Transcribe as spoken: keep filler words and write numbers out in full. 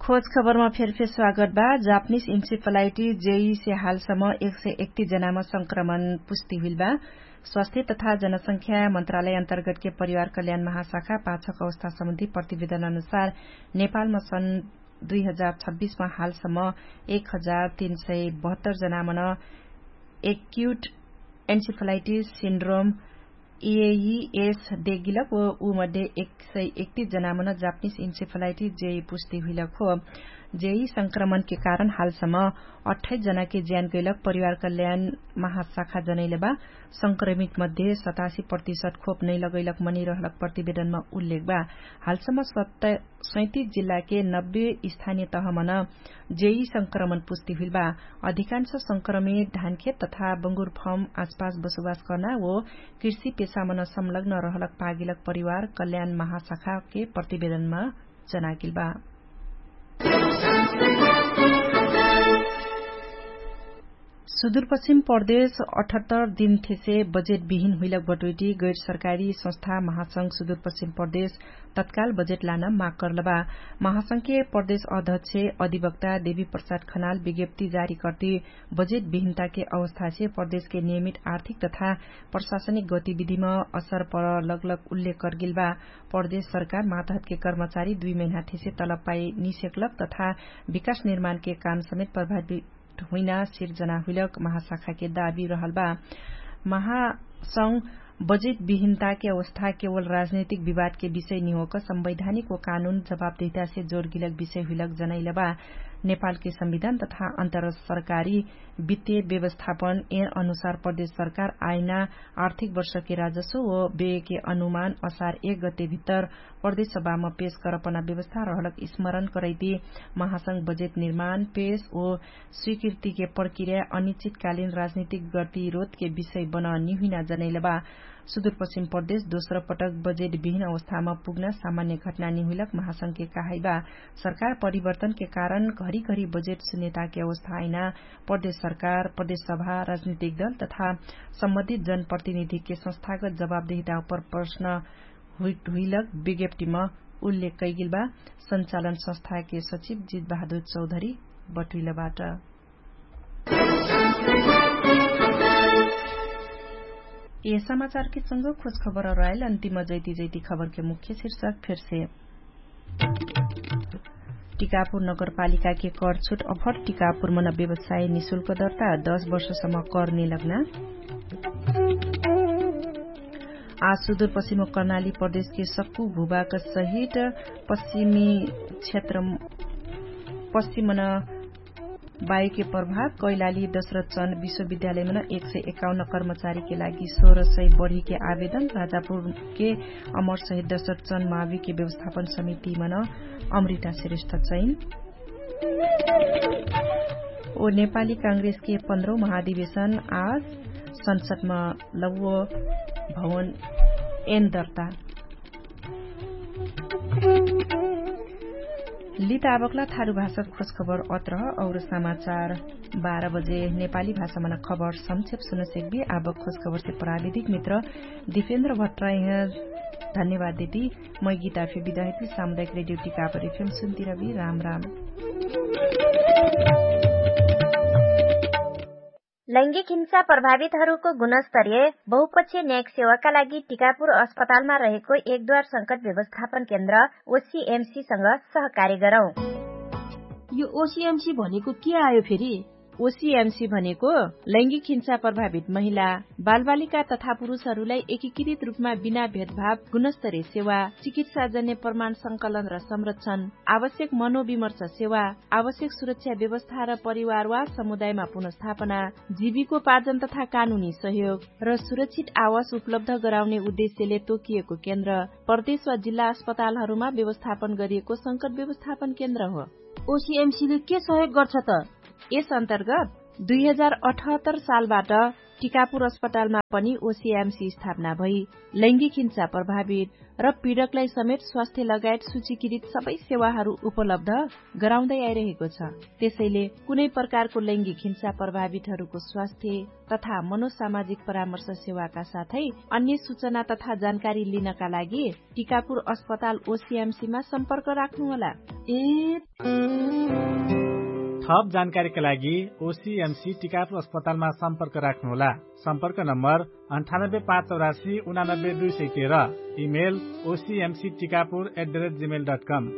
खोज खबरमा फेरफेर स्वागत बा। जापनिस इन्सिफलाइटी जेई से हालसम्म एक सय एकतिस जनामा संक्रमण पुष्टि हुइल बा। स्वास्थ्य तथा जनसंख्या मन्त्रालय अन्तर्गतके परिवार कल्याण महाशाखा पाछक अवस्था सम्बन्धी प्रतिवेदन अनुसार नेपालमा सन् दुई हजार छब्बिसमा हालसम्म एक हजार तीन सय बहत्तर जनामन एक्युट एन्सिफलाइटिस सिन्ड्रोम एइएस देगिलक व उ मध्ये एक सय एकतिस जनामन जापनिस इन्सिफलाइटिस जेई पुष्टि हुइलक हो। जेई संक्रमणके कारण हालसम्म अठाइस जनाके ज्यान गैलक परिवार कल्याण महाशाखा जनैलबा। संक्रमित मध्ये सतासी प्रतिशत खोप नै लगैलक मनिरहलक प्रतिवेदनमा उल्लेख बा। हालसम्म सत्त सैतिस जिल्लाके नब्बे स्थानीय तहमन जेई संक्रमण पुष्टि हुइल बा। अधिकांश संक्रमित धानखेत तथा बंगुरफम आसपास बसोबास कर्ना वो कृषि पेशामन संलग्न रहलक पागिलक परिवार कल्याण महाशाखाके प्रतिवेदनमा जनागिल बा। सुदूरपश्चिम प्रदेश अठहत्तर दिन थेसे बजेट बिहिन हुइलक बटोइटी गैर सरकारी संस्था महासंघ सुदूरपश्चिम प्रदेश तत्काल बजेट लान माग कर्लबा। महासंघके प्रदेश अध्यक्ष अधिवक्ता देवी प्रसाद खनाल विज्ञप्ति जारी कर्ति बजेट बिहिनताके अवस्थासे प्रदेशके नियमित आर्थिक तथा प्रशासनिक गतिविधिमा असर पर लगलग उल्लेख कर्गिल बा। प्रदेश सरकार मातहतके कर्मचारी दुई महिना थेसे तलपाई निसेक्लक तथा विकास निर्माणके काम समेत प्रभावित हुइना सिर्जना हुइलक महाशाखाके दाबी रहल बा। महासंघ बजेट बिहिनताके अवस्था केवल राजनैतिक विवादके विषय निहोक संवैधानिक व कानुन जवाबदेहितासे जोरगिलक विषय हुइलक जनैलबा। नेपालके संविधान तथा अन्तरसरकारी वित्तीय व्यवस्थापन एन अनुसार प्रदेश सरकार आइना आर्थिक वर्षके राजस्व व बेके अनुमान असार एक गते भित्तर प्रदेश सभामा पेश करपना व्यवस्था रहलक स्मरण करैती महासंघ बजेट निर्माण पेश व स्वीकृतिके प्रक्रिया अनिश्चितकालीन राजनीतिक गतिरोधके विषय बन निहुइना जनैलबा। सुदूरपश्चिम प्रदेश दोस्रो पटक बजेट बिहिन अवस्थामा पुग्ना सामान्य घटना निहुइलक महासंघके कहाइबा। सरकार परिवर्तनके कारण घरी घरी बजेट सुन्यताके अवस्था आइना प्रदेश सरकार प्रदेश सभा राजनीतिक दल तथा सम्बन्धित जनप्रतिनिधिके संस्थागत जवाबदेहिता उपर प्रश्न हुइलक विज्ञप्तिमा उल्लेख कैगिल बा। संचालन संस्थाके सचिव जित बहादुर चौधरी बटुइलबाट। ए समाचारके संग खोज खबर अराइल अन्तिम जैती जैती खबरके मुख्य शीर्षक फेरसे। टिकापुर नगरपालिकाके कर छुट अफर टिकापुर मन व्यवसाय निशुल्क दर्ता दश वर्षसम्म कर निलग्ना। आज सुदूरपश्चिम कर्णाली प्रदेशके सक्कु भूभाग सहित पश्चिमी क्षेत्र पश्चिमन वायुके प्रभाव कैलाली दशरथ चन्द विश्वविद्यालयमन एक सय एकाउन्न कर्मचारीके लागि सोह्र सय बढीके आवेदन राजापुरके अमर सहित दशरथ चन्द माविके व्यवस्थापन समितिमन अमृता श्रेष्ठ चैन। ओ नेपाली काङ्ग्रेसके पन्ध्रौ महाधिवेशन आज संसदमा लौव भवन एन दर्ता। लित आबकला थारु भाषा खोजखबर अत्रह और समाचार बाह्र बजे नेपाली भाषामा न खबर संक्षेप सुन सेक्बी। आबक खोजखबरसे प्राविधिक मित्र दिपेन्द्र भट्टराइह धन्यवाद देती। मै गीता फे बिदाहिती सामुदायिक रेडियो टिकापर एफएम सुन्तिरबी राम राम। लैङ्गिक हिंसा प्रभावितहरूको गुणस्तरीय बहुपक्षीय न्यायिक सेवाका लागि टिकापुर अस्पतालमा रहेको एकदुवार संकट व्यवस्थापन केन्द्र ओसिएमसीसँग सहकार्य गरौँ। यो ओसिएमसी भनेको के आयो फेरि? ओसिएमसी भनेको लैङ्गिक हिंसा प्रभावित महिला, बालबालिका तथा पुरुषहरूलाई एकीकृत रूपमा बिना भेदभाव गुणस्तरीय सेवा, चिकित्साजन्य प्रमाण संकलन र संरक्षण, आवश्यक मनोविमर्श सेवा, आवश्यक सुरक्षा व्यवस्था र परिवार वा समुदायमा पुनर्स्थापना, जीविकोपार्जन तथा कानुनी सहयोग र सुरक्षित आवास उपलब्ध गराउने उद्देश्यले तोकिएको केन्द्र प्रदेश वा जिल्ला अस्पतालहरूमा व्यवस्थापन गरिएको संकट व्यवस्थापन केन्द्र हो। ओसिएमसीले के सहयोग गर्छ त? यस अन्तर्गत दुई हजार अठहत्तर सालबाट टिकापुर अस्पतालमा पनि ओसिएमसी स्थापना भई लैङ्गिक हिंसा प्रभावित र पीडकलाई समेत स्वास्थ्य लगायत सूचीकृत सबै सेवाहरू उपलब्ध गराउँदै आइरहेको छ। त्यसैले कुनै प्रकारको लैङ्गिक हिंसा प्रभावितहरूको स्वास्थ्य तथा मनोसामाजिक परामर्श सेवाका साथै अन्य सूचना तथा जानकारी लिनका लागि टिकापुर अस्पताल ओसिएमसीमा सम्पर्क राख्नुहोला। ए थप जानकारीका लागि ओसिएमसी टिकापुर अस्पतालमा सम्पर्क राख्नुहोला। सम्पर्क नम्बर अन्ठानब्बे पाँच चौरासी उनानब्बे दुई सय तेह्र। Email OCMC Tikapur at the rate Gmail dot come.